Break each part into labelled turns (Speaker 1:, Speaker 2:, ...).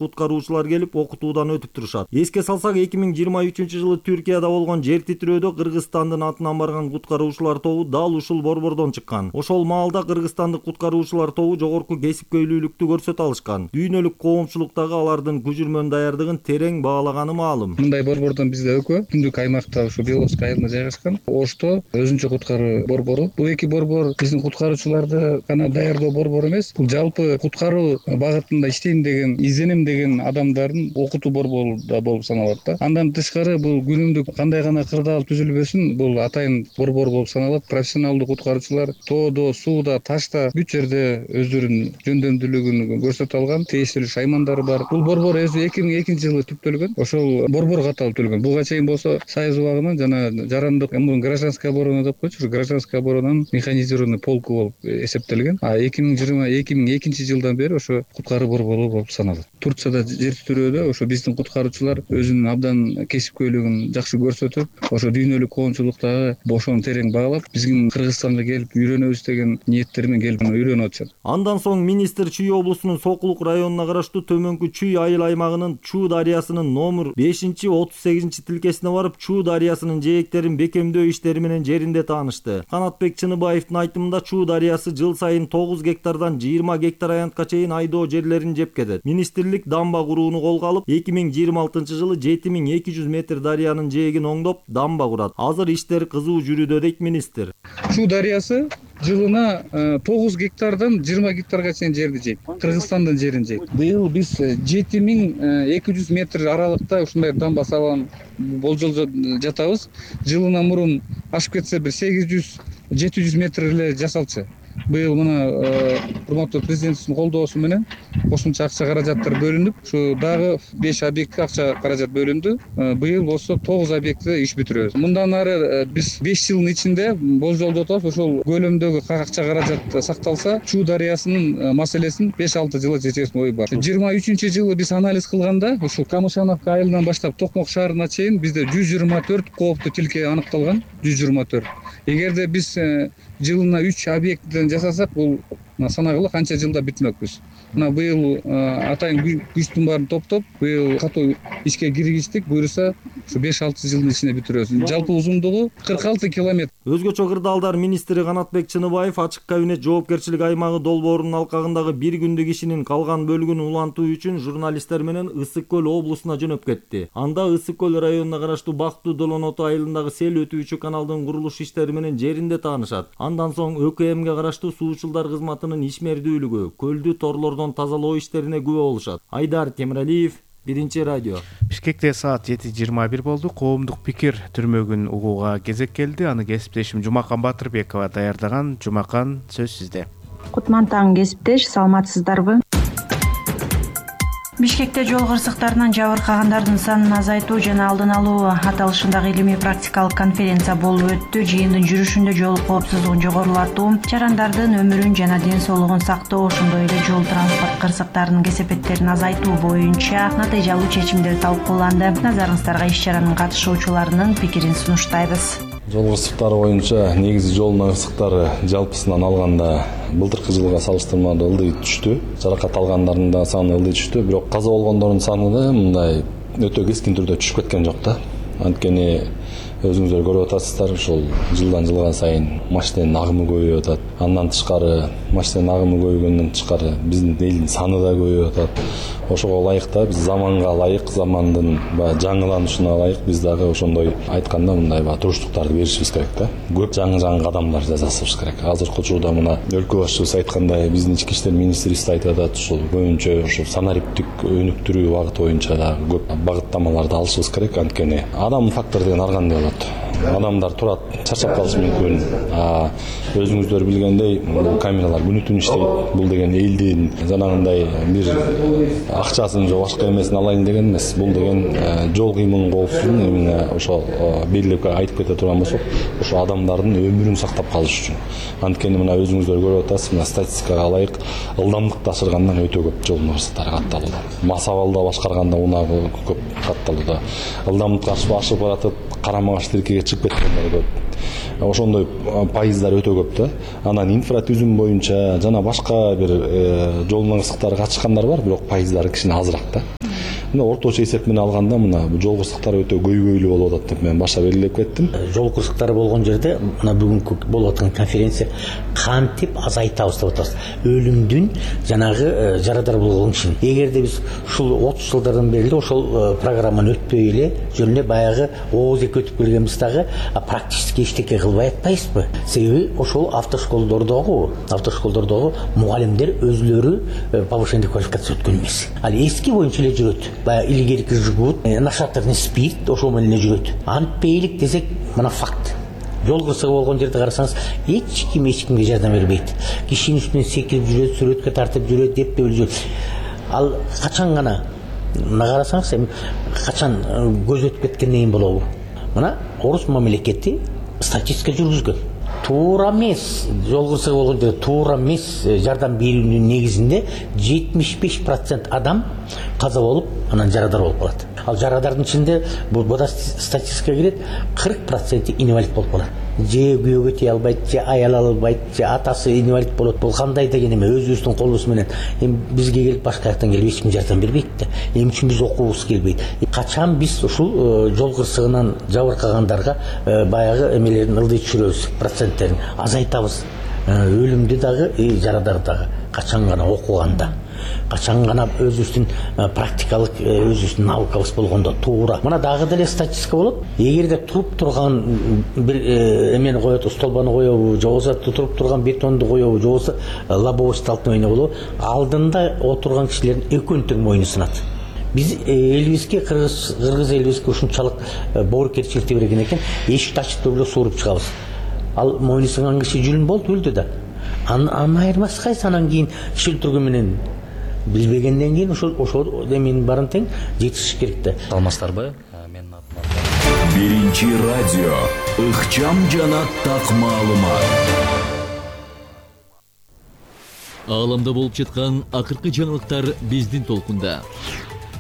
Speaker 1: куткаруучулар келип окутуудан өтүп турушат. Эске салсак, 2023-жылы Түркияда болгон жер титирөөдө Кыргызстандын атынан барган куткаруучулар тобу дал ушул борбордон чыккан. Ошол маалда кыргызстандык куткаруучулар тобу жогорку кесипкөйлүүлүктү көрсөтө алышкан. Дүйнөлүк коомчулук дагы алардын күжүрмөн даярдыгын терең баалаганы маалым.
Speaker 2: Мындай борбордон бизде экөө Түндүк аймакта ушу Беловский айылында жайгашкан. Ошто өзүнчө куткаруу борбору. Бул эки борбор биздин куткаруучуларды гана даярдоо борбору эмес, бул жалпы куткаруу багытында иштейм деген, изденем деген адамдардын окутуу борбору да болуп саналат да. Андан тышкары бул күнүмдүк кандай гана кырдаал түзүлбөсүн, бул атайын борбор болуп саналат. Профессионалдуу куткаруучулар тоодо, сууда, ташта бүт жерде өздөрүнүн жөндөмдүүлүгүн көрсөтө алган, тийиштүү шаймандары бар. Бул борбор өзү 2002-жылы түптөлгөн. Ошол борбор катары түзүлгөн. Буга чейин болсо Союз убагынан жана жарандык гражданская оборона деп койчу, гражданская оборонанын механизированный полку болуп эсептелген. А 2002-жылдан бери ошо куткаруу борбору болуп саналат. Турцияда жер титирөөдө ошо биздин куткаруучулар өзүнүн абдан кесипкөйлүгүн жакшы көрсөтүп, ошо дүйнөлүк коомчулуктагы ошону терең баалап, биздин Кыргызстанга келип үйрөнөбүз деген ниеттермен келип үйрөнүп атышат.
Speaker 1: Андан соң министр Чүй облусунун Сокулук районуна караштуу Төмөнкү Чүй айыл аймагынын Чуу дарыясынын номер 5-38 тилкесине барып, Чуу дарыясынын жээктерин бекемдөө иштери менен жеринде таанышты. Канатбек Чыныбаевдин айтымында Чуу дарыясы жыл сайын 9 гектардан 20 гектар аянтка чейин айдоо жерлерин жеп кетет. Министрлик дамба курууну колго алып, 2026-жылы 7200 метр дарыянын жээгин оңдоп, дамба курат. Азыр иштер кызуу жүрүүдө дейт министр.
Speaker 2: Чуу дарыясы жылына 9 гектардан 20 гектарга чейин жерди жейт. Кыргызстандын жерин жейт. Быйыл биз 7200 метр аралыкта ушундай дамба салган болжолдо жатабыз. Жылына мурун ашып кетсе бир 800-700 метр эле жасалчу. Быйыл мына урматтуу президентибиздин колдоосу менен кошумча акча каражаттар бөлүнүп, ушу дагы 5 объектке акча каражат бөлүндү. Быйыл болсо 9 объектте иш бүтүрөбүз. Мындан ары биз 5 жылдын ичинде болжолдоп атабыз, ошол көлөмдөгү акча каражат сакталса, Чуу дарыясынын маселесин 5-6 жылга чечесин ой бар. 23-жылы биз анализ кылганда, ушул Камышановка айылынан баштап Токмок шаарына чейин бизде 124 кооптуу тилке аныкталган. 124. Эгерде биз жылына 3 объекттен жасасак, бул санагыла канча жылда бүтмөкпүз. Мына быйыл атайын күчтүн баарын топтоп, быйыл катуу ишке киргиздик. Буюрса, ушу 5-6 жылдын ичинде бүтүрөбүз. Жалпы узундугу 46 километр.
Speaker 1: Өзгөчө кырдаалдар министри Канатбек Чыныбаев ачык кабинет жоопкерчилик аймагы долбоорунун алкагындагы бир күндүк ишинин калган бөлүгүн улантуу үчүн журналисттер менен Ысык көл облусуна жөнөп кетти. Анда Ысык көл районуна караштуу Бактуу Долоноту айылындагы сел өтүүчү каналдын курулуш иштери менен жеринде таанышат. Андан соң ÖKMге караштуу суучулдар кызматынын ишмердүүлүгү, көлдү торлордон тазалоо иштерине күбө болушат. Айдар Темиралиев, Биринчи радио.
Speaker 3: Бишкекте саат 7:21 болду. Коомдук пикир түрмөгүн угууга кезек келди. Аны кесиптешим Жумакан Батырбекова даярдаган. Жумакан, сөз сизде.
Speaker 4: Кутман таң кесиптеш, саламатсыздарбы? Бишкекте жол кырсыктарынан жабыркагандардын санын азайтуу жана алдын алуу аталышындагы илимий практикалык конференция болуп өттү. Жыйындын жүрүшүндө жол коопсуздугун жогорулатуу, жарандардын өмүрүн жана ден соолугун сактоо, ошондой эле жол транспорт кырсыктарынын кесепеттерин азайтуу боюнча натыйжалуу чечимдер талкууланды. Назарыңыздарга иш-чаранын катышуучуларынын пикирин сунуштайбыз.
Speaker 5: Жол кырсыктары боюнча негизи жол кырсыктары жалпысынан алганда былтыркы жылга салыштырмалуу ылдый түштү. Жаракат алгандардын да саны ылдый түштү, бирок каза болгондордун саны да мындай өтө кескин түрдө түшүп кеткен жок да. Анткени өзүңүздөр көрүп атасыздар, ушул жылдан жылга сайын машинанын агымы көбөйүп атат. Андан тышкары машинанын агымы көбөйгөндөн тышкары биздин элдин саны да көбөйүп атат. Ошого ылайык да биз заманга ылайык, замандын жаңыланышына ылайык биз дагы ошондой айтканда мындай туруштуктарды беришибиз керек да. Көп жаңы кадамдар жасашыбыз керек. Азыркы учурда мына өлкө башчыбыз айткандай, биздин ички иштер министрибиз айтып атат, ушул көбүнчө ушул санариптик өнүктүрүү багыты боюнча да көп багыттамаларды алышыбыз керек. Анткени адам фактор деген ар кандай болот. Адамдар турат, чарчап калышы мүмкүн. Өзүңүздөр билгендей, бул камералар күнү түн иштейт. Бул деген элдин жанагындай бир акчасын же башка эмесин алайын деген эмес. Бул деген жол кыймылынын коопсуздугун именно ошо белгилеп айтып кете турган болсок, ошо адамдардын өмүрүн сактап калыш үчүн. Анткени мына өзүңүздөр көрүп атасыз, мына статистикага ылайык ылдамдыкты ашыргандан өтө көп жол кырсыктары катталууда. Мас абалда башкарганда унагы көп катталууда. Ылдамдыкка ашып баратып, карама-каршы тилкеге чыгып кеткендер көп. Ошондой пайыздар өтө көп да. Анан инфратүзүм боюнча жана башка бир жол кырсыктары катышкандар бар, бирок пайыздары кичине азыраак да. Мына орточо эсеп менен алганда мына жол кырсыктары өтө көйгөйлүү болуп атат деп мен башта белгилеп кеттим.
Speaker 6: Жол кырсыктары болгон жерде мына бүгүнкү болуп аткан конференция кантип азайтабыз деп атабыз. Өлүмдүн жанагы жарадар болгон кишини. Эгерде биз ушул 30 жылдардан бери ошол программаны өтпөй эле жөн эле баягы ооз эки өтүп келгенбиз дагы практически эчтеке кылбай атпайбызбы? Себеби ошол автошколдордогу мугалимдер өзлөрү повышение квалификация өткөн эмес. Ал эски боюнча эле жүрөт. Баягы илгерки жигут, нашатырный спирт ошол менен эле жүрөт. Антпейлик десек, мына факт. Жол кырсыгы болгон жерде карасаңыз, эч кимге жардам бербейт. Кишинин үстүнөн секирип жүрөт, сүрөткө тартып жүрөт, деп жүрөт. Ал качан гана карасаңыз, эми качан көз өтүп кеткенден кийин болобу? Мына орус мамлекети статистика жүргүзгөн. Туура эмес, жол кырсыгы болгон жерде туура эмес жардам берүүнүн негизинде 75% адам каза болуп, анан жарадар болуп калат. Ал жарадардын ичинде бул статистикага кирет, 40% инвалид болуп калат. Же күйөөгө тие албайт, же аял албайт, же атасы инвалид болот. Бул кандай деген эме, өзүбүздүн колубуз менен. Эми бизге келип башка жактан келип эч ким жардам бербейт да. Эмне үчүн биз окуубуз келбейт? Качан биз ушул жол кырсыгынан жабыркагандарга баягы эмелерин ылдый түшүрөбүз, проценттерин азайтабыз. Өлүмдү дагы, жарадар дагы качан гана окуганда, качан гана өзүбүздүн практикалык өзүбүздүн наукабыз болгондо туура. Мына дагы деле статистика болот. Эгерде туруп турган бир эмени коет, столбаны коебу, же болбосо туруп турган бетонду коебу, же болбосо лобовой столкновение болобу, алдында отурган кишилердин экөөнүн тең мойну сынат. Биз элибизге, кыргыз элибизге ушунчалык боорукерчиликти берген экен, эшикти ачып эле сууруп чыгабыз. Ал мойну сынган киши жүлүн болду, өлдү да. Анын айырмасы кайсы? Анан кийин киши өлтүргөн менен билбегенден кийин ошол эменин баарын тең жетишиш керек да.
Speaker 7: Алмастарбы? Менин атым. Биринчи радио. Ыкчам жана так маалымат. Ааламда болуп жаткан акыркы жаңылыктар биздин толкунда.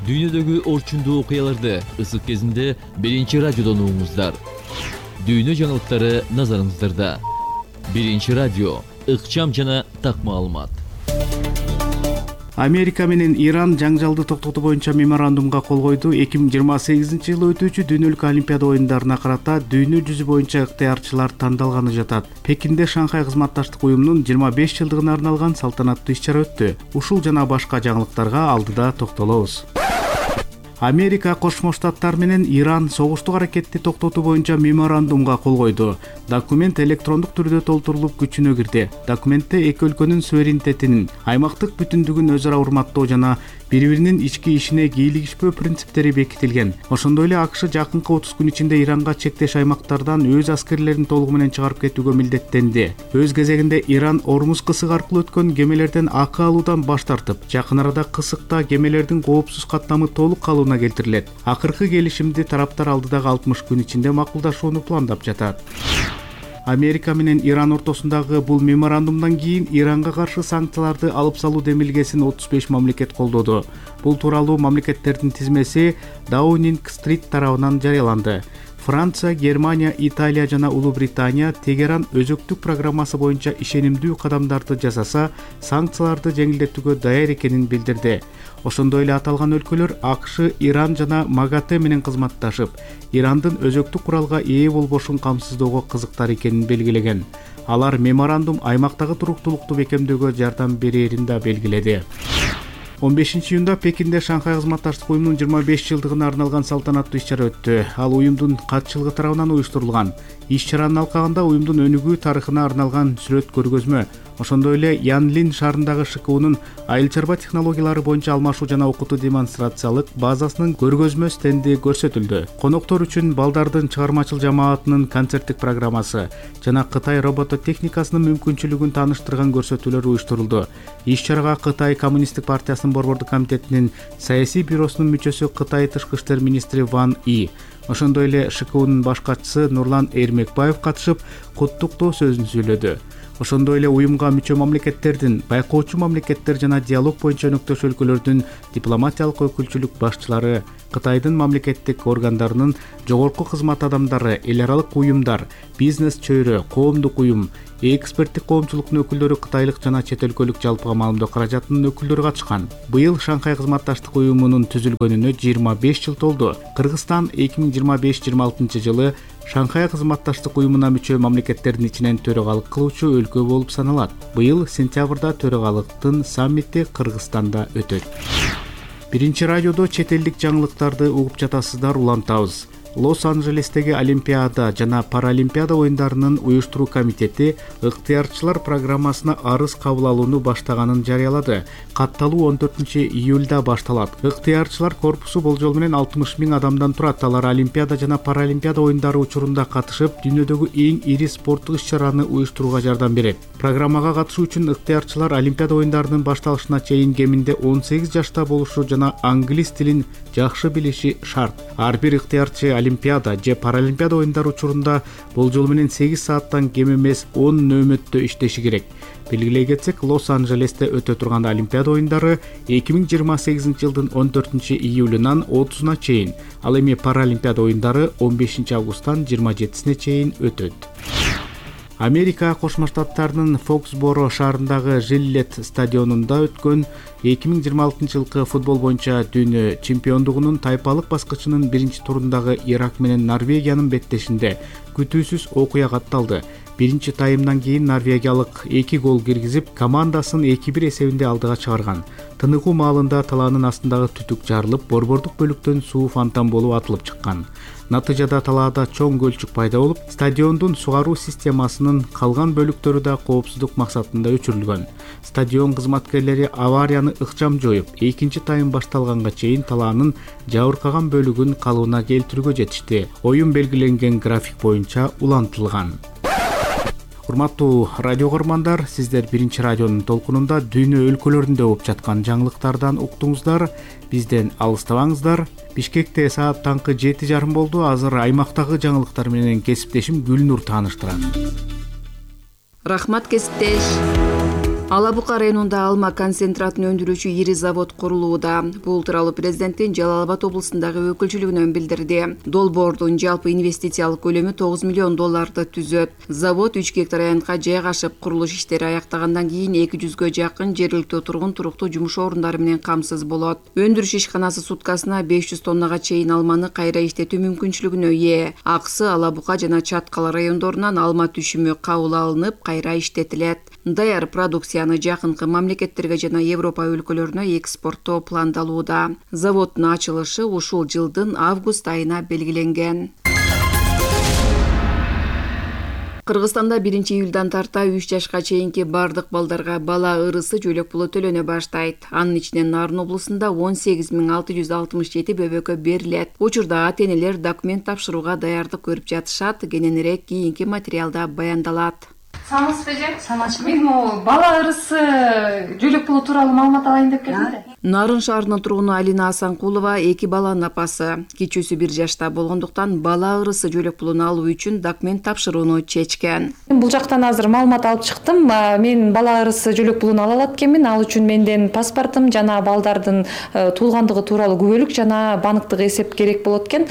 Speaker 7: Дүйнөдөгү орчундуу окуяларды ысык кезинде биринчи радиодон угуңуздар. Дүйнө жаңылыктары назарыңыздарда. Биринчи радио. Ыкчам жана так маалымат.
Speaker 3: Америка менен Иран жаңжалды токтотуу боюнча меморандумга кол койду. 2028-жылы өтүүчү дүйнөлүк олимпиада оюндарына карата дүйнө жүзү боюнча ыктыярчылар тандалганы жатат. Пекинде Шанхай кызматташтык уюмунун 25 жылдыгына арналган салтанаттуу иш-чара өттү. Ушул жана башка жаңылыктарга алдыда токтолобуз. Америка Кошмо Штаттар менен Иран согуштук аракетти токтотуу боюнча меморандумга кол койду. Документ электрондук түрдө толтурулуп күчүнө кирди. Документте эки өлкөнүн суверенитетинин, аймактык бүтүндүгүн өзара урматтоо жана бири-биринин ички ишине кийлигишпөө принциптери бекитилген. Ошондой эле АКШ жакынкы 30 күн ичинде Иранга чектеш аймактардан өз аскерлерин толугу менен чыгарып кетүүгө милдеттенди. Өз кезегинде Иран Ормуз кысыгы аркылуу өткөн кемелерден акы алуудан баш тартып, жакын арада кысыкта кемелердин коопсуз каттамы толук калууна келтирилет. Акыркы келишимди тараптар алдыдагы 60 күн ичинде макулдашууну пландап жатат. Америка менен Иран ортосундагы бул меморандумдан кийин Иранга каршы санкцияларды алып салуу демилгесин 35 мамлекет колдоду. Бул тууралуу мамлекеттердин тизмеси Downing Street тарабынан жарыяланды. Франция, Германия, Италия жана Улуу Британия Тегеран өзөктүк программасы боюнча ишенимдүү кадамдарды жасаса, санкцияларды жеңилдетүүгө даяр экенин билдирди. Ошондой эле аталган өлкөлөр АКШ, Иран жана МАГАТЭ менен кызматташып, Ирандын өзөктүк куралга ээ болбошун камсыздоого кызыктар экенин белгилеген. Алар меморандум аймактагы туруктуулукту бекемдөөгө жардам берерин да белгиледи. 15-июнда Пекинде Шанхай кызматташтык уюмунун 25 жылдыгына арналган салтанаттуу иш-чара өттү. Ал уюмдун катчылыгы тарабынан уюштурулган. Иш-чаранын алкагында уюмдун өнүгүү тарыхына арналган сүрөт көргөзмө, ошондой эле Янлин шаарындагы ШКУнун айыл чарба технологиялары боюнча алмашуу жана окутуу демонстрациялык базасынын көргөзмө стенди көрсөтүлдү. Коноктор үчүн балдардын чыгармачыл жамаатынын концерттик программасы жана Кытай робототехникасынын мүмкүнчүлүгүн тааныштырган көрсөтүүлөр уюштурулду. Иш-чарага Кытай Коммунисттик партиясынын борбордук комитетинин саясий бюросунун мүчөсү Кытай тышкы иштер министри Ван И, ошондой эле ШКУнун баш катчысы Нурлан Эрмекбаев катышып, куттуктоо сөзүн сүйлөдү. Ошондой эле уюмга мүчө мамлекеттердин, байкоочу мамлекеттер жана диалог боюнча өнөктөш өлкөлөрдүн дипломатиялык өкүлчүлүк башчылары Кытайдын мамлекеттик органдарынын жогорку кызмат адамдары, эл аралык уюмдар, бизнес чөйрө, коомдук уюм, эксперттик коомчулуктун өкүлдөрү, кытайлык жана чет өлкөлүк жалпыга маалымдоо каражатынын өкүлдөрү катышкан. Быйыл Шанхай кызматташтык уюмунун түзүлгөнүнө 25 жыл толду. Кыргызстан 2025-26 жылы Шанхай кызматташтык уюмуна мүчө мамлекеттердин ичинен төрагалык кылуучу өлкө болуп саналат. Быйыл сентябрда төрагалыктын саммити Кыргызстанда өтөт. Биринчи радиодо чет элдик жаңылыктарды угуп жатасыздар, улантабыз. Лос-Анджелестеги Олимпиада жана Паралимпиада оюндарынын уюштуруу комитети ыктыярчылар программасына арыз кабыл алууну баштаганын жарыялады. Катталуу 14-июлда башталат. Ыктыярчылар корпусу болжол менен 60 000 адамдан турат. Алар Олимпиада жана Паралимпиада оюндары учурунда катышып, дүйнөдөгү эң ири спорттук иш-чараны уюштурууга жардам берет. Программага катышуу үчүн ыктыярчылар Олимпиада оюндарынын башталышына чейин кеминде 18 жашта болушу жана англис тилин жакшы билиши шарт. Ар бир ыктыярчы Олимпиада же Паралимпиада оюндары учурунда болжол менен 8 сааттан кем эмес 10 нөөмөттө иштеши керек. Белгилей кетсек, Лос-Анджелесте өтө турган Олимпиада оюндары 2028 жылдын 14-июлунан 30-на чейин, ал эми Паралимпиада оюндары 15 августтан 27-сине чейин өтөт. Америка Кошмо Штаттарынын Фоксборо шаарындагы Жилет стадионунда өткөн 2026 жылкы футбол боюнча дүйнө чемпиондугунун тайпалык баскычынын биринчи турундагы Ирак менен Норвегиянын беттешинде күтүүсүз окуя катталды. Биринчи таймдан кийин норвегиялык 2 гол киргизип, командасын 2-1 эсебинде алдыга чыгарган. Тыныгуу маалында талаанын астындагы түтүк жарылып, борбордук бөлүктөн суу фонтан болуп атылып чыккан. Натыйжада талаада чоң көлчүк пайда болуп, стадиондун сугаруу системасынын калган бөлүктөрү да коопсуздук максатында өчүрүлгөн. Стадион кызматкерлери аварияны ыкчам жоюп, экинчи тайм башталганга чейин талаанын жабыркаган бөлүгүн калыбына келтирүүгө жетишти. Оюн белгиленген график боюнча улантылган. Урматтуу радио көрөрмандар, сиздер биринчи радионун толкунунда дүйнө өлкөлөрүндө болуп жаткан жаңылыктардан уктуңуздар. Бизден алыстабаңыздар. Бишкекте саат таңкы 7:30 болду. Азыр аймактагы жаңылыктар менен кесиптешим Гүлнур тааныштырат.
Speaker 8: Рахмат, кесиптеш. Алабука районунда алма концентратын өндүрүүчү ири завод курулууда. Бул тууралуу президенттин Жалал Абад облусундагы өкүлчүлүгүнөн билдирди. Долбоордун жалпы инвестициялык көлөмү $9 миллион түзөт. Завод 3 гектар аянтка жайгашып, курулуш иштери аяктагандан кийин 200гө жакын жергиликтүү тургун туруктуу жумуш орундары менен камсыз болот. Өндүрүш ишканасы суткасына 500 тоннага чейин алманы кайра иштетүү мүмкүнчүлүгүнө ээ. Аксы Алабука жана Чаткал райондорунан алма түшүмү кабыл алынып, кайра иштетилет. Даяр продукцияны жакынкы мамлекеттерге жана Европа өлкөлөрүнө экспорттоо пландалууда. Заводдун ачылышы ушул жылдын август айына белгиленген. Кыргызстанда 1-июлдан тарта 3 жашка чейинки бардык балдарга бала ырысы жөлөк пулу төлөнө баштайт. Анын ичинен Нарын облусунда 18.667 бөбөккө берилет. Учурда ата-энелер документ тапшырууга даярдык көрүп жатышат. Кененирээк кийинки материалда баяндалат.
Speaker 9: Саламатсызбы эже? Саламатчы. Мен бала ырысы жөлөк пулу тууралуу маалымат алайын деп келдим да.
Speaker 8: Нарын шаарынын тургуну Алина Асанкулова 2 баланын апасы. Кичүүсү 1 жашта болгондуктан бала ырысы жөлөк пулун алуу үчүн документ тапшырууну чечкен.
Speaker 9: Бул жактан азыр маалымат алып чыктым. Мен бала ырысы жөлөк пулун ала алат экенмин. Ал үчүн менден паспортум жана балдардын туулгандыгы тууралуу күбөлүк жана банктык эсеп керек болот экен.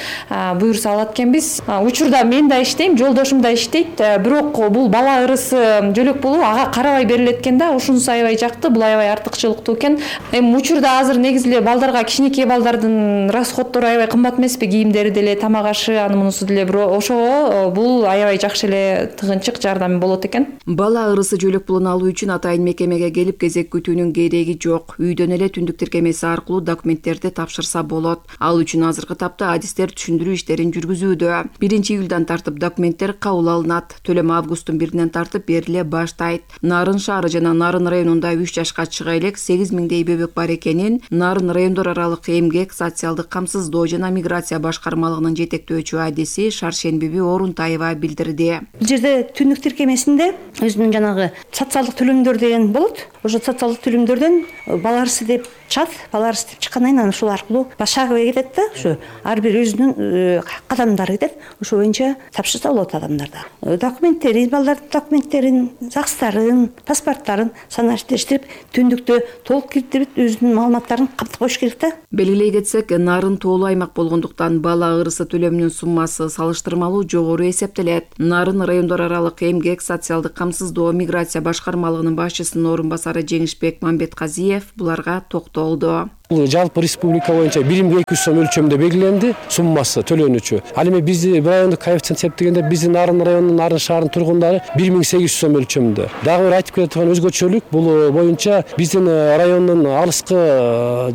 Speaker 9: Буюрса алат экенбиз. Учурда мен да иштейм, жолдошум да иштейт. Бирок бул бала ырысы жөлөк пулу ага карабай берилет экен да. Ушунусу аябай жакты, бул аябай артыкчылыктуу экен. Учурда азыр негизи эле балдарга, кичинекей балдардын расходтору аябай кымбат эмеспи? Кийимдери деле, тамак ашы, аны мунусу деле. Бирок ошого бул аябай жакшы эле тыгынчык жардам болот экен.
Speaker 8: Бала ырысы жөлөк пулун алуу үчүн атайын мекемеге келип кезек күтүүнүн кереги жок. Үйдөн эле түндүк тиркемеси аркылуу документтерди тапшырса болот. Ал үчүн азыркы тапта адистер түшүндүрүү иштерин жүргүзүүдө. 1-июлдан тартып документтер кабыл алынат. Төлөм августтун 1-инен тартып бериле баштайт. Нарын шаары жана Нарын районунда 3 жашка чыга элек 8000 бөбөк бар экенин Нарын райондор аралык эмгек, социалдык камсыздоо жана миграция башкармалыгынын жетектөөчү адиси Шаршенбиби Орунтаева билдирди.
Speaker 10: Бул жерде түндүк тиркемесинде өзүнүн жанагы социалдык төлөмдөр деген болот. ошо социалдык төлөмдөрдөн бала арсы деп чыгат. Бала арсы деп чыккандан кийин анан ушул аркылуу шагыбай кетет да, ошо ар бир өзүнүн кадамдары кетет. Ошо боюнча тапшырса болот адамдарда. Документтерин, балдардын документтерин, ЗАГСтарын, паспорттарын санаштырып, түндүктө толук кириптирип өзүнүн маалыматтарын каптап коюш керек да.
Speaker 8: Белгилей кетсек, нарын тоолуу аймак болгондуктан бала ырысы төлөмүнүн суммасы салыштырмалуу жогору эсептелет. Нарын райондор аралык эмгек, социалдык камсыздоо, миграция башкармалыгынын башчысынын орун басары Жеңишбек Мамбетказиев буларга токтолду.
Speaker 11: Бул жалпы республика боюнча 1200 сом өлчөмдө белгиленди суммасы төлөнүүчү. Ал эми биздин райондук коэффициент эсептегенде биздин Нарын районунун Нарын шаарынын тургундары 1800 сом өлчөмдө. Дагы бир айтып кете турган өзгөчөлүк бул боюнча биздин райондун алыскы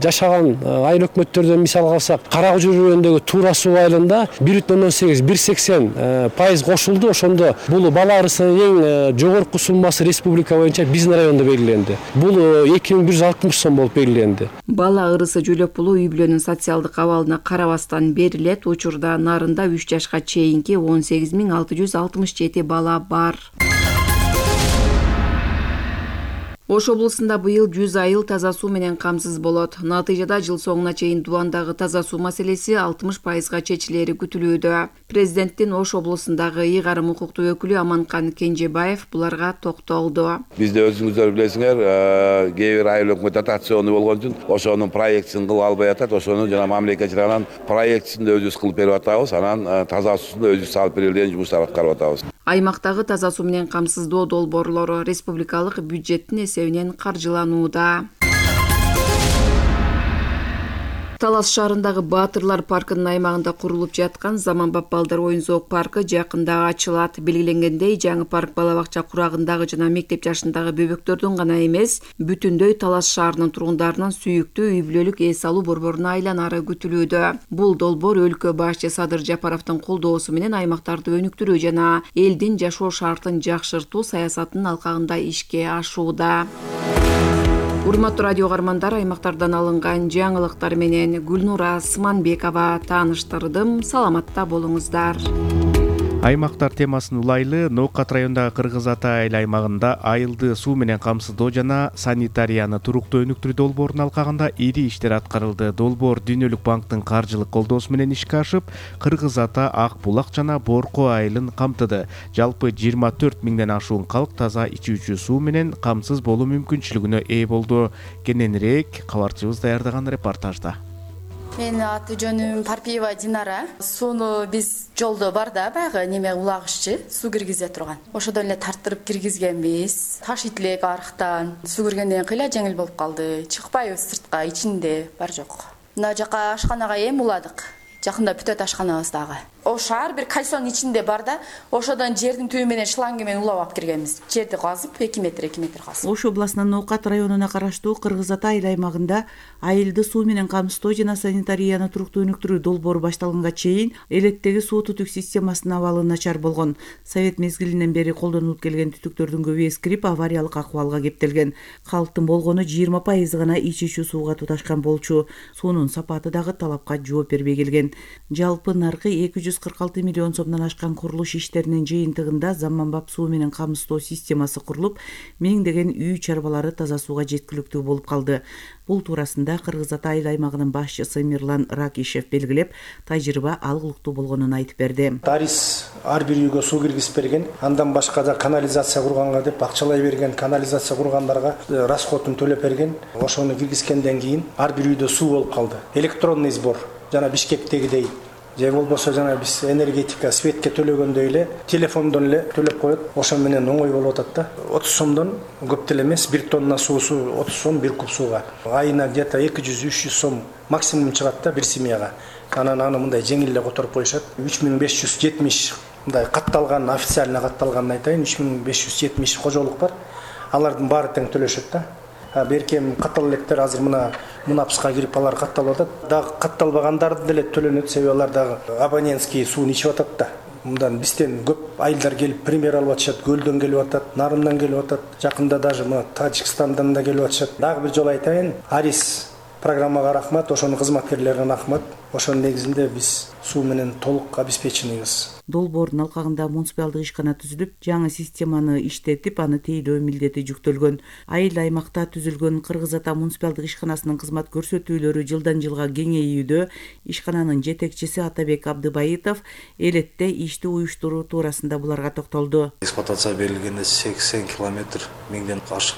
Speaker 11: жашаган айыл өкмөттөрдөн мисал алсак, Каракожур районундагы Туура суу айылында 1,18-1,80% кошулду. Ошондо бул бала арысынын эң жогорку суммасы республика боюнча биздин райондо белгиленди. Бул 2160 сом болуп белгиленди.
Speaker 8: Бала ырысы жөлөп пулу үй бүлөнүн социалдык абалына карабастан берилет. Учурда Нарында 3 жашка чейинки 18667 бала бар. Ош облусунда быйыл 100 айыл таза суу менен камсыз болот. Натыйжада жыл соңуна чейин Дубандагы таза суу маселеси 60%га чечилери күтүлүүдө. Президенттин Ош облусундагы ыйгарым укуктуу өкүлү Аманкан Кенжебаев буларга токтолду.
Speaker 12: Бизде өзүңүздөр билесиңер, кээ бир айыл өкмөт дотацион болгон үчүн ошонун проектисин кылып албай атат. Ошону жана мамлекет тарабынан проектисин өзүбүз кылып берип атабыз. Анан таза суусун өзүбүз салып берели деген жумуштар аткарып атабыз.
Speaker 8: Аймактагы таза суу менен камсыздоо долбоорлору республикалык бюджеттин эсебинен каржыланууда. Талас шаарындагы Баатырлар паркынын аймагында курулуп жаткан заманбап балдар оюн-зоок паркы жакында ачылат. Белгиленгендей, жаңы парк бала бакча курагындагы жана мектеп жашындагы бөбөктөрдүн гана эмес, бүтүндөй Талас шаарынын тургундарынын сүйүктүү үй бүлөлүк эс алуу борборуна айланары күтүлүүдө. Бул долбоор өлкө башчы Садыр Жапаровдун колдоосу менен аймактарды өнүктүрүү жана элдин жашоо шартын жакшыртуу саясатынын алкагында ишке ашууда. Урматтуу радио каармандар, аймактардан алынган жаңылыктар менен Гүлнура Сманбекова тааныштырдым. Саламатта болуңуздар.
Speaker 3: Аймактар темасын улайлы Ноокат районундагы Кыргыз Ата айыл аймагында айылды суу менен камсыздоо жана санитарияны туруктуу өнүктүрүү долбоорунун алкагында ири иштер аткарылды. Долбоор Дүйнөлүк банктын каржылык колдоосу менен ишке ашып, Кыргыз Ата, Ак Булак жана Борко айылын камтыды. Жалпы 24 миңден ашуун калк таза ичүүчү суу менен камсыз болуу мүмкүнчүлүгүнө ээ болду. Кененирээк кабарчыбыз даярдаган репортажда.
Speaker 13: Мен аты жөнүм Парпиева Динара. Сууну биз жолдо бар да, баягы неме улагыччы суу киргизе турган. Ошодон эле тартырып киргизгенбиз. Таш итлек арыктан суу киргенден кыйла жеңил болуп калды. Чыкпайбыз сыртка, ичинде бар жок. Мына жака ашканага эми уладык. Жакында бүтөт ашканабыз дагы. Ошо ар бир кальсонун ичинде бар да, ошодон жердин түбү менен шланга менен улап алып киргенбиз. Жерди казып 2 метр казып.
Speaker 14: Ош областынын Ноокат районуна караштуу Кыргыз Ата айыл аймагында айылды суу менен камсыздоо жана санитарияны туруктуу өнүктүрүү долбоору башталганга чейин элеттеги суу түтүк системасынын абалы начар болгон. Совет мезгилинен бери колдонулуп келген түтүктөрдүн көбү эскирип, авариялык акыбалга кептелген. Калктын болгону 20% гана ичүүчү сууга туташкан болчу. Суунун сапаты дагы талапка жооп бербей келген. Жалпы наркы 246 миллион сомдон ашкан курулуш иштеринин жыйынтыгында заманбап суу менен камсыздоо системасы курулуп, миңдеген үй чарбалары таза сууга жеткиликтүү болуп калды. Бул туурасында Кыргыз Ата айыл аймагынын башчысы Мирлан Ракишев белгилеп, тажрыйба алгылыктуу болгонун айтып берди.
Speaker 15: Тарис ар бир үйгө суу киргизип берген, андан башка да канализация курганга деп акчалай берген, канализация кургандарга расходун төлөп берген. Ошону киргизгенден кийин ар бир үйдө суу болуп калды. Электронный сбор жана Бишкектегидей, же болбосо жана биз энергетика светке төлөгөндөй эле телефондон эле төлөп коет. Ошо менен оңой болуп атат да. 30 сомдон көп деле эмес, 1 тонна суусу 30 сом 1 куб сууга. Айына где-то 200-300 сом максимум чыгат да бир семьяга. Анан аны мындай жеңил эле которуп коюшат. 3570 мындай катталган, официально катталганын айтайын, 3570 кожолук бар. Алардын баары тең төлөшөт да. Беркем каттал электер азыр мына мунапска кирип алар катталып атат. Дагы катталбагандарды деле төлөнөт, себеби алар дагы абонентский сууну ичип атат да. Мындан бизден көп айылдар келип пример алып атышат, Көлдөн келип атат, Нарымдан келип атат, жакында даже мына Тажикстандан да келип атышат. Дагы бир жолу айтайын, Арис программага рахмат, ошонун кызматкерлерине рахмат. Ошонун негизинде биз суу менен толук обеспеченийбиз.
Speaker 14: Долбоордун алкагында муниципалдык ишкана түзүлүп, жаңы системаны иштетип, аны тейлөө милдети жүктөлгөн. Айыл аймакта түзүлгөн Кыргыз Ата муниципалдык ишканасынын кызмат көрсөтүүлөрү жылдан жылга кеңейүүдө. Ишкананын жетекчиси Атабек Абдыбайытов элетте ишти уюштуруу туурасында буларга токтолду.
Speaker 16: Эксплуатация берилгенде 80 километр 1000ден ашык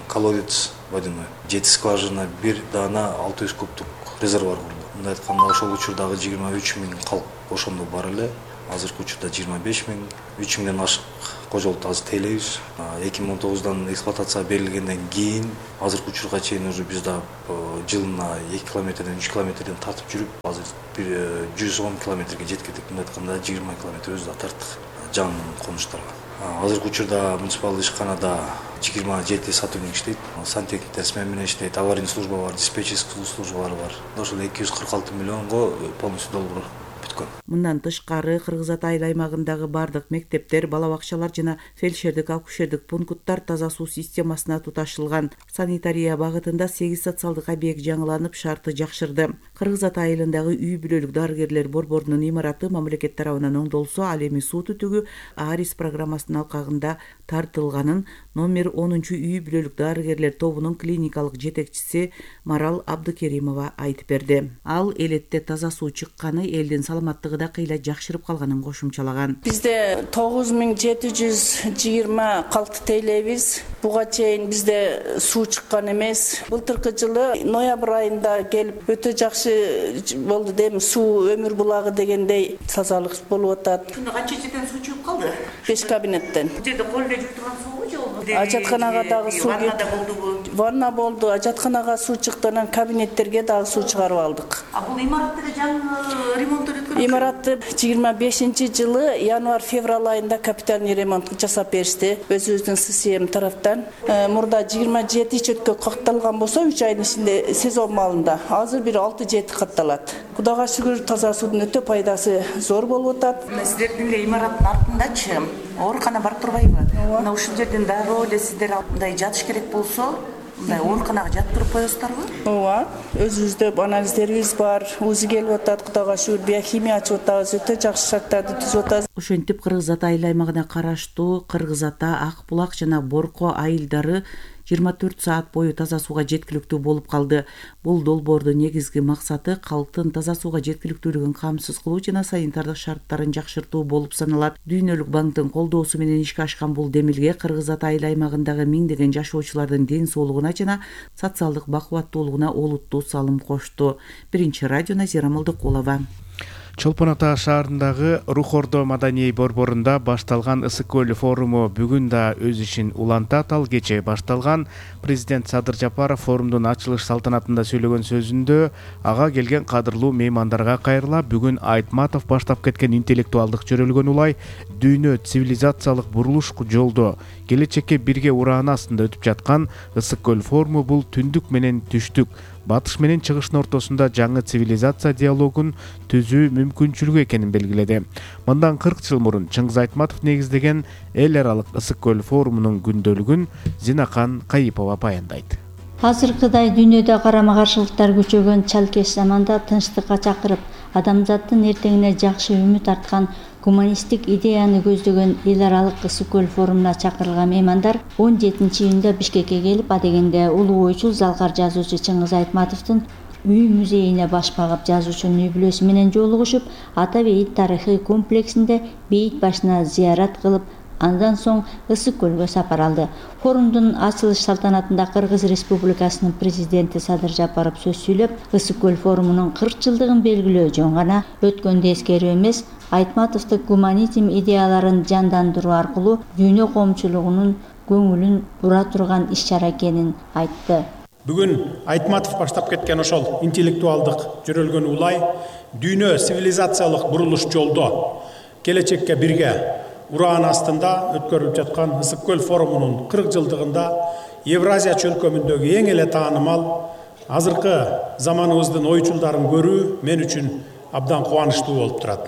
Speaker 16: колодец водяной, 7 скважина, 1 дана 600 кубтук резервуар курду. Мындай айтканда ошол учурдагы 23 000 калк ошондо бар эле. Азыркы учурда 25 000, 3 000ден ашык кожолту азыр тейлейбиз. 2019-дан эксплуатация берилгенден кийин азыркы учурга чейин уже биз да жылына 2 километрден 3 километрден тартып жүрүп, азыр 110 километрге жеткендик. Мындай айтканда 20 километр өзү да тарттык жаңы конуштарга. Азыркы учурда муниципалдык ишканада 27 сотрудник иштейт. Сантехниктер смена менен иштейт, аварийный служба бар, диспетчерский службалар бар. Ошол 246 миллионго полностью долбоор бүткөн.
Speaker 14: Мындан тышкары Кыргыз Ата айыл аймагындагы бардык мектептер, бала бакчалар жана фельдшердик акушердик пункттар таза суу системасына туташылган. Санитария багытында 8 социалдык объект жаңыланып, шарты жакшырды. Кыргыз Ата айылындагы үй бүлөлүк дарыгерлер борборунун имараты мамлекет тарабынан оңдолсо, ал эми суу түтүгү АРИС программасынын алкагында тартылганын номер 10 үй бүлөлүк дарыгерлер тобунун клиникалык жетекчиси Марал Абдыкеримова айтып берди. Ал элетте таза суу чыкканы элдин саламаттыгы да кыйла жакшырып калганын кошумчалаган.
Speaker 17: Бизде 9720 калкты тейлейбиз. Буга чейин бизде суу чыккан эмес. Былтыркы жылы ноябрь айында келип өтө жакшы болду дейм. Суу өмүр булагы дегендей тазалык болуп атат.
Speaker 14: Күндө канча жерден суу чыгып калды?
Speaker 17: 5 кабинеттен.
Speaker 14: Бул жерде кол эле жүрүп турган суубу жолбу?
Speaker 17: Ажатканага дагы суу болдубу? Ванна болду, ажатканага суу чыкты, анан кабинеттерге дагы суу чыгарып алдык.
Speaker 14: А бул имаратты жаңы ремонт өткөн?
Speaker 17: Имаратты 25-жылы январь-февраль айында капитальный ремонт жасап беришти өзүбүздүн ССМ тараптан. Мурда 27 чөткө катталган болсо 3 айдын ичинде сезон маалында азыр бир 6-7 катталат. Кудайга шүгүр таза суудун өтө пайдасы зор болуп атат.
Speaker 14: Сиздердин эле имараттын артындачы оорукана бар турбайбы? Мына ушул жерден дароо эле сиздер мындай жатыш керек болсо, мындай ооруканага жатып коесуздарбы?
Speaker 17: Ооба, өзүбүздө анализдерибиз бар, УЗИ келип атат, Кудайга шүгүр, биохимия ачып атабыз, өтө жакшы шарттарды түзүп атабыз.
Speaker 14: Ошентип Кыргыз Ата айыл аймагына караштуу Кыргыз Ата, Ак булак жана Борко айылдары 24 саат бою таза сууга жеткиликтүү болуп калды. Бул долбоордун негизги максаты калктын таза сууга жеткиликтүүлүгүн камсыз кылуу жана санитардык шарттарын жакшыртуу болуп саналат. Дүйнөлүк банктын колдоосу менен ишке ашкан бул демилге Кыргыз Ата айыл аймагындагы миңдеген жашоочулардын ден соолугуна жана социалдык бакубаттуулугуна олуттуу салым кошту. Биринчи радио Назира Молдокулова.
Speaker 3: Чолпон Ата шаарындагы Рух Ордо маданий борборунда башталган Ысык көл форуму бүгүн да өз ишин улантат. Ал кече башталган. Президент Садыр Жапаров форумдун ачылыш салтанатында сөйлөгөн сөзүндө ага келген кадырлуу меймандарга кайрыла бүгүн Айтматов баштап кеткен интеллектуалдык жөрөлгөн улай дүйнө цивилизациялык бурулуш жолдо келечекке бирге урааны астында өтүп жаткан Ысык көл форуму бул түндүк менен түштүк, батыш менен чыгыштын ортосунда жаңы цивилизация диалогун түзүү мүмкүнчүлүгү экенин белгиледи. Мындан 40 жыл мурун Чыңгыз Айтматов негиздеген эл аралык Ысык көл форумунун күндөлүгүн Зинахан Кайыпова баяндайт.
Speaker 18: Азыркыдай дүйнөдө карама каршылыктар күчөгөн чалкеш заманда тынчтыкка чакырып, адамзаттын эртеңине жакшы үмүт арткан гуманисттик идеяны көздөгөн эл аралык Ысык көл форумуна чакырылган меймандар 17-июнда Бишкекке келип, адегенде улуу ойчул залкар жазуучу Чыңгыз Айтматовдун үй музейине баш багып, жазуучунун үй бүлөсү менен жолугушуп, ата бейит тарыхый комплексинде бейит башына зыярат кылып, андан соң Ысык көлгө сапар алды. Форумдун ачылыш салтанатында Кыргыз Республикасынын президенти Садыр Жапаров сөз сүйлөп, Ысык көл форумунун 40 жылдыгын белгилөө жөн гана өткөндө эскерүү эмес, Айтматовдук гуманизм идеяларын жандандыруу аркылуу дүйнө коомчулугунун көңүлүн бура турган иш-чара экенин айтты.
Speaker 19: Бүгүн Айтматов баштап кеткен ошол интеллектуалдык жөрөлгөн улай дүйнө цивилизациялык бурулуш жолдо келечекке бирге ураан астында өткөрүлүп жаткан Ысык көл форумунун 40 жылдыгында Евразия чөлкөмүндөгү эң эле таанымал азыркы заманыбыздын ойчулдарын көрүү мен үчүн абдан кубанычтуу болуп турат.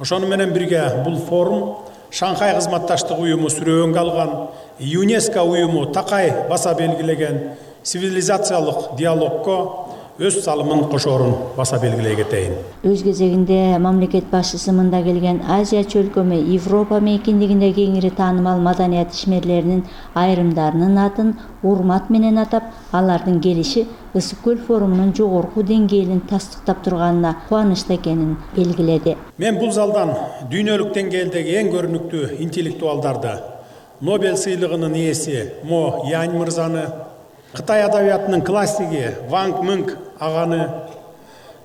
Speaker 19: Ошону менен бирге бул форум Шанхай кызматташтык уюму сүрөөнгө алган, ЮНЕСКО уюму такай баса белгилеген цивилизациялык диалогко өз салымын кошоорун баса белгилей кетейин.
Speaker 18: Өз кезегинде мамлекет башчысы мында келген Азия чөлкөмү Европа мейкиндигинде кеңири таанымал маданият ишмерлеринин айрымдарынын атын урмат менен атап, алардын келиши Ысык көл форумунун жогорку деңгээлин тастыктап турганына кубанычта экенин белгиледи.
Speaker 19: Мен бул залдан дүйнөлүк деңгээлдеги эң көрүнүктүү интеллектуалдарды, Нобель сыйлыгынын ээси Мо Янь мырзаны, Кытай адабиятынын классиги Ванг Мыңг аганы,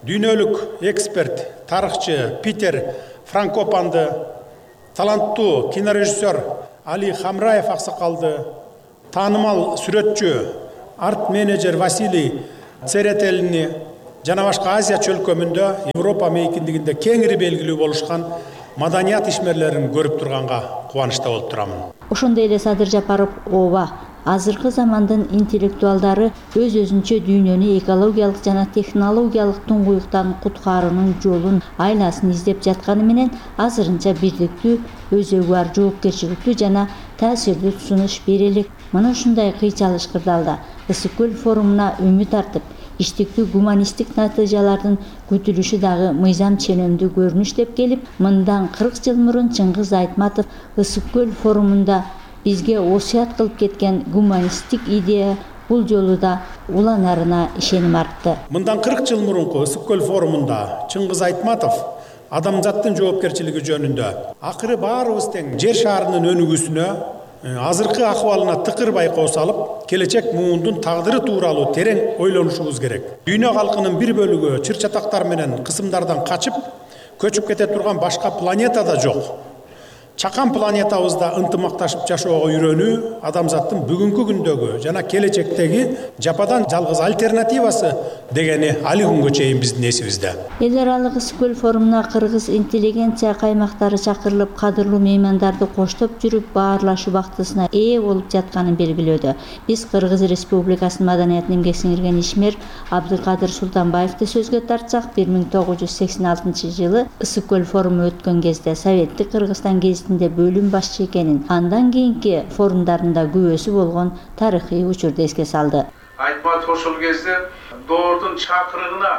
Speaker 19: дүйнөлүк эксперт, тарыхчы Питер Франкопанды, таланттуу кинорежиссер Али Хамраев аксакалды, таанымал сүрөтчү, арт-менеджер Василий Церетелини жана башка Азия чөлкөмүндө Европа мейкиндигинде кеңири белгилүү болушкан маданият ишмерлерин көрүп турганга кубанычта болуп турамын.
Speaker 18: Ошондой эле Садыр Жапаров ооба азыркы замандын интеллектуалдары өз-өзүнчө дүйнөнү экологиялык жана технологиялык туңгуюктан куткаруунун жолун, айласын издеп жатканы менен азырынча бирдиктүү, өзөгү бар жоопкерчиликтүү жана таасирдүү сунуш бере элек. Мына ушундай кыйчалыш кырдаалда Ысык көл форумуна үмүт артып, иштиктүү гуманисттик натыйжалардын күтүлүшү дагы мыйзам ченемдүү көрүнүш деп келип, мындан 40 жыл мурун Чыңгыз Айтматов Ысык көл форумунда бизге осуят кылып кеткен гуманисттик идея бул жолу да уланарына ишеним артты.
Speaker 19: Мындан 40 жыл мурунку Ысык көл форумунда Чыңгыз Айтматов адамзаттын жоопкерчилиги жөнүндө акыры баарыбыз тең жер шаарынын өнүгүүсүнө, азыркы акыбалына тыкыр байкоо салып, келечек муундун тагдыры тууралуу терең ойлонушубуз керек. Дүйнө калкынын бир бөлүгү чыр-чатактар менен кысымдардан качып, көчүп кете турган башка планета да жок. Чакан планетабызда ынтымакташып жашоого үйрөнүү адамзаттын бүгүнкү күндөгү жана келечектеги жападан жалгыз альтернативасы дегени али күнгө чейин биздин эсибизде.
Speaker 18: Эл аралык Ысык көл форумуна кыргыз интеллигенция каймактары чакырылып, кадырлуу меймандарды коштоп жүрүп, баарлашуу убактысына ээ болуп жатканын белгилөөдө. Биз Кыргыз Республикасынын маданиятына эмгек сиңирген ишмер Абдыкадыр Султанбаевди сөзгө тартсак, 1986 жылы Ысык көл форуму өткөн кезде Советтик Кыргызстан гезитинде бөлүм башчы экенин, андан кийинки форумдарында күбөсү болгон тарыхый учурду эске салды.
Speaker 20: Айтматов ошол кезде доордун чакырыгына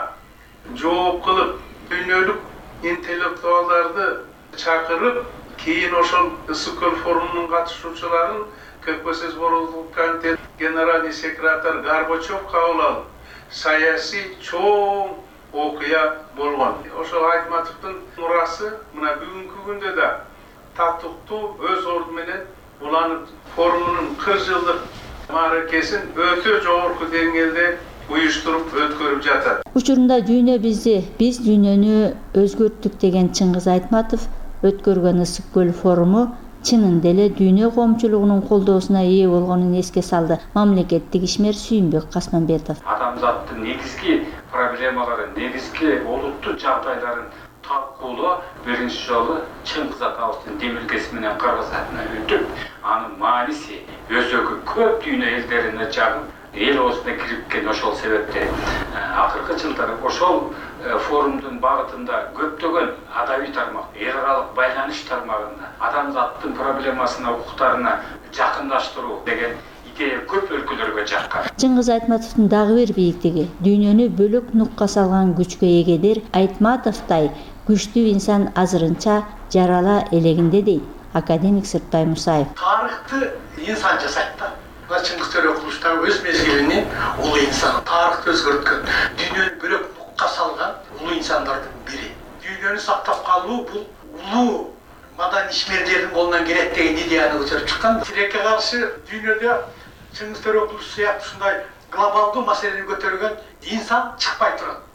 Speaker 20: жооп кылып, дүйнөлүк интеллектуалдарды чакырып, кийин ошол Ысык көл форумунун катышуучуларын КПСС Боролдук комитет генеральный секретарь Горбачев кабыл алып, саясий чоң окуя болгон. Ошол Айтматовдун мурасы мына бүгүнкү күндө да татыктуу өз орду менен уланып, форумунун 40 жылдык мааракесин өтө жогорку деңгээлде уюштуруп өткөрүп жатат.
Speaker 18: Учурунда дүйнө бизди, биз дүйнөнү өзгөрттүк деген Чыңгыз Айтматов өткөргөн Ысык көл форуму чынында эле дүйнө коомчулугунун колдоосуна ээ болгонун эске салды мамлекеттик ишмер Сүйүнбек Касманбетов.
Speaker 21: Адамзаттын негизги проблемаларын, негизги олуттуу жагдайларын талкуулоо биринчи жолу Чыңгыз атабыздын демилгеси менен Кыргыз атына өтүп, анын мааниси өзөгү көп дүйнө элдерине жагып, эл оозуна кирипкен. Ошол себептен акыркы жылдары ошол форумдун багытында көптөгөн адабий тармак, эл аралык байланыш тармагында адамзаттын проблемасына, укуктарына жакындаштыруу деген идея көп өлкөлөргө жаккан.
Speaker 18: Чыңгыз Айтматовдун дагы бир бийиктиги дүйнөнү бөлөк нукка салган күчкө эгедир Айтматовдай күчтүү инсан азырынча жарала элегинде дейт академик Сырттай Мусаев.
Speaker 22: Тарыхты инсан жасайт да. Чыңгыз Төреқұловтың өз мезгилинде улуу инсан тарыхты өзгөрткөн, дүйнөнү бөлөк нукка салган улуу инсандардын бири. Дүйнөнү сактап калуу бул улуу маданий ишмерлердин колунан келет деген идеяны көтөрүп чыккан. Тилекке каршы дүйнөдө Чыңгыз Төреқұлов сыяктуу ушундай глобалдуу маселени көтөргөн инсан чыкпай турат.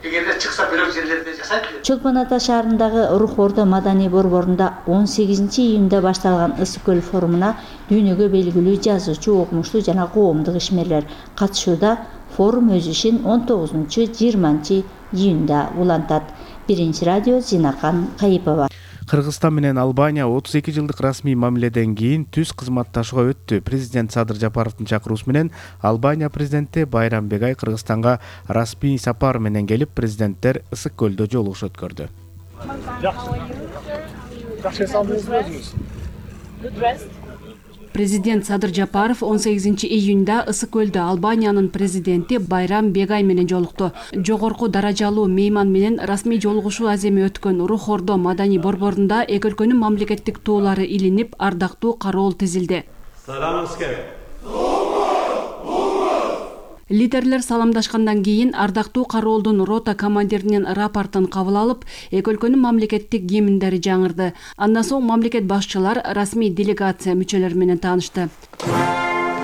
Speaker 22: Эгерде чыкса бөлөк жерлерде жасайт.
Speaker 18: Чолпон Ата шаарындагы Рух Ордо маданий борборунда 18 июнда башталган Ысык көл форумуна дүйнөгө белгилүү жазуучу, окумуштуу жана коомдук ишмерлер катышууда. Форум өз ишин 19-20 июнда улантат. Биринчи радио Зинакан Кайыпова.
Speaker 3: Кыргызстан менен Албания 32 жылдык расмий мамиледен кийин түз кызматташууга өттү. Президент Садыр Жапаровдун чакыруусу менен Албания президенти Байрам Бегай Кыргызстанга расмий сапар менен келип, президенттер Ысык көлдө жолугуш өткөрдү.
Speaker 1: Президент Садыр Жапаров 18 июнда Ысык көлдө Албаниянын президенти Байрам Бегай менен жолукту. Жогорку даражалуу мейман менен расмий жолугушуу аземи өткөн Рух Ордо маданий борборунда эки өлкөнүн мамлекеттик туулары илинип, ардактуу кароол тизилди. Лидерлер саламдашкандан кийин ардактуу кароолдун рота командиринин рапортун кабыл алып, эки өлкөнүн мамлекеттик гимндери жаңырды. Андан соң мамлекет башчылар расмий делегация мүчөлөрү менен таанышты.